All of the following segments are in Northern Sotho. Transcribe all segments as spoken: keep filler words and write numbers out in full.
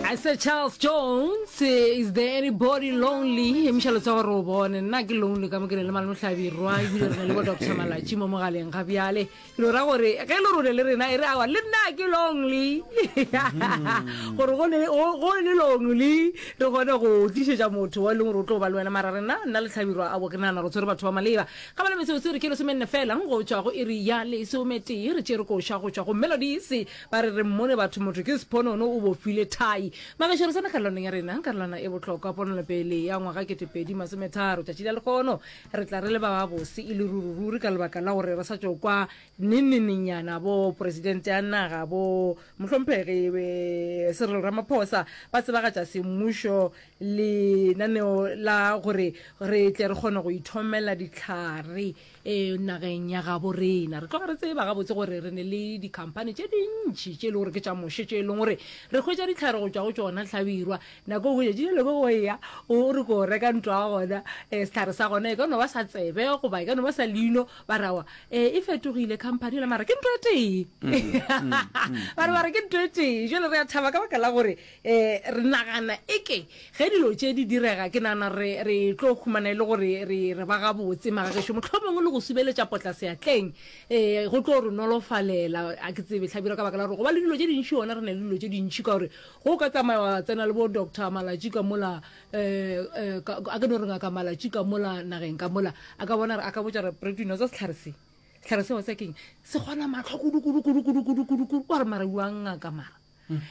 I said Charles Jones, eh, is there anybody lonely? Emiša letsogo gore o bone. Nna ke lonely ka mo ke ne le malome Hlabirwa, ebile re na le bo Doctor Malatši mo mogaleng ga bjale. Ke no ra gore ge le rone le rena e re awa le nna ke lonely. Gore go ne go go le lonely re kgone go tlišetša motho wa e leng gore o tlo ba le wena, mara rena, nna le Hlabirwa, abo ke nagana re tshwere batho ba maleba. Ga ba le metsotso re ke lesomenne fela go tšwa go iri ya lesometee, re tšere koša go tšwa go Melodies, ba re re mmone batho, motho ke sephonono o bofile thai. Magešo, re tsena karolwaneng ya rena, karolwana e bohlokwa, ponelopele ya ngwaga ketepedi masometharo. Tšatši la lekgono re tla re le ba babose e le rurururi ka lebaka la gore re sa tšo kwa nennenenyana bo presidente ya naga, bo mohlomphegi eh, Cyril Ramaphosa, ba tsebagatša semmušo lenaneo la gore re tle re kgone go ithomela ditlhare um nageng ya gabo rena. Re tloga re tseba gabotse gore re ne le dikhamphani tše dintšhi tše e le gore ke tša moše, tše e leng gore re hwetša ditlhare go tšwa go tšona. Hlabirwa, nako o hwetša tšele go ya o re ko reka ntlo ya gona, um setlhare sa gona e ka no ba sa tsebe goba e ka no ba sa leino, ba rawa um e fetogile company la, mara ke ntho e tee, ba re ba re ke ntho e tee. Jale re a thaba ka baka la gore um re nagana eke ge dilo tše di direga, ke nagana re re tlo humana e le gore re re ba gabotse magagešo, mohlomongwe le go subeletša potla seatleng um go tlo re nolofalela. A ke tsebe, Hlabirwa, ka baka la gore go ba le dilo tše dintšhi, ona re na le dilo tše dintšhi, ka gore go ka tsamaya wa tsena le bo Doctor Malatši ka mola, um a ke no re Ngaka Malatši ka mola nageng ka mola, a ka bona, a ka botša re pretino tsa setlhare se, setlhare seo se keng se kgona matlho kudu kudu kudu kudu kudu kudu kudu, wa re mara uang ngaka, mara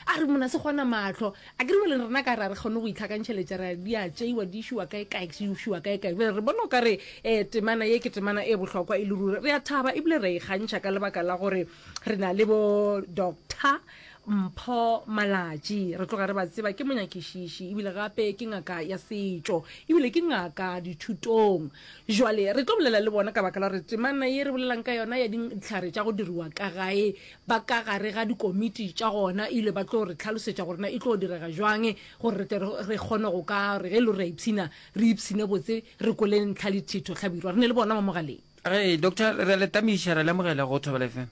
a re mona se kgona matlho a ke re bele rena ka re a re kgone go itlhakantšheletša, ra di a tšeiwa, di išiwa kae kae, di išiwa kae kae. Bjale re bona o ka re um temana ye ke temana e bohlokwa e le ruri. Re a thaba ebile re ikgantšha ka lebaka la gore re na le bo Doctor Mpho Malatši. Re tloga re ba tseba, ke monyakišiši ebile gape ke ngaka ya setšo ebile ke ngaka dithutong. Jwale re tlo bolela le bona ka baka la gore temana ye re bolelang ka yona ya ditlhare tša go diriwa ka gae, ba ka gare ga dikomiti tša gona, ebile ba tlo re tlhalosetša gore na e tlo direga jwang gore re tle re kgone go ka re ge e le gore re a ipshina, re ipshine botse, re kwele ntlha le thitho. Hlabirwa, re ne le bona mo mogaleng. Re doctor, re le tamiša, re lemogela go Thobela F M.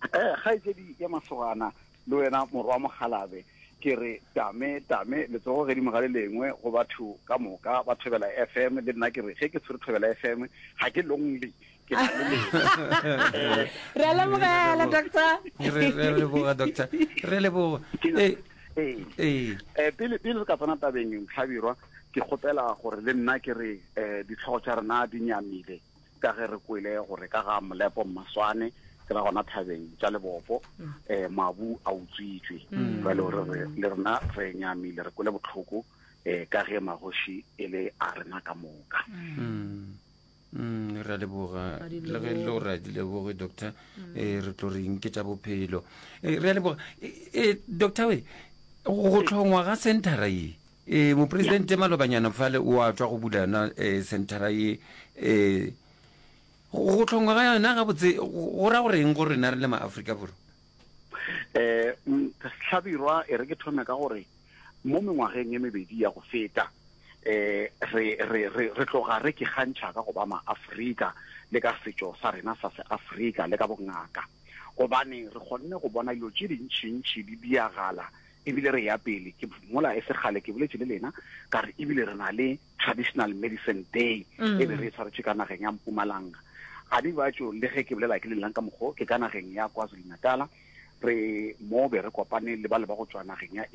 Eh kgaitsedi ya masogana le wena morwa mogalabe, ke re tame tame letsogo gedimo ga le lengwe go batho ka moka ba Thobela F M. Le nna ke re ge ke tshwere Thobela F M ga ke lonely, ke na le lena. Re a lemogela, doctor. Re re leboga, doctor, re leboga. Ke- ee ee ee eh pele pele re ka tsena tabeng, Hlabirwa, ke kgopela gore le nna ke re eh ditlhogo tša rena di nyamile ka ge re kwele gore ka ga Molepo Mmaswane, ke ra gona thabeng tša Lebopo, eh mabu a utswitswe. Jwale re re le rena re nyamile, re kwele botlhoko eh ka ge magoši e le a rena ka moka. Mm. Mm, re a leboga. Ga di Le ge le leboge. gore a di leboge, doctor, eh re tlo reng ke tša bophelo. Eh, re a leboga. Eh, eh, doctor we, go tlhongwa ga centera ye, eh mopresidente malobanyana fale o a tswa go bula yona eh centera ye, eh go tlhongwa ga yona gabotse go go ra goreng go rena re le maAfrika Borwa? eh mm, Hlabirwa, e re ke thome ka gore mo mengwageng e mebedi ya go feta eh re re re re tloga re ke gantšha ka go ba maAfrika le ka setšo sa rena sa seAfrika le ka bongaka, gobane re kgonne go bona dilo tše dintšhintšhi di diagala ebile re ya pele. Ke mola e segale ke boletše le lena ka re ebile re na le Traditional Medicine Day e be re e tshwaretše ka nageng ya Mpumalanga. Ga di batšo le ge ke bolela ke le leng ka mokgo ke ka nageng ya KwaZulu Natala, re mo be re kopane le ba le ba go tšwa nageng ya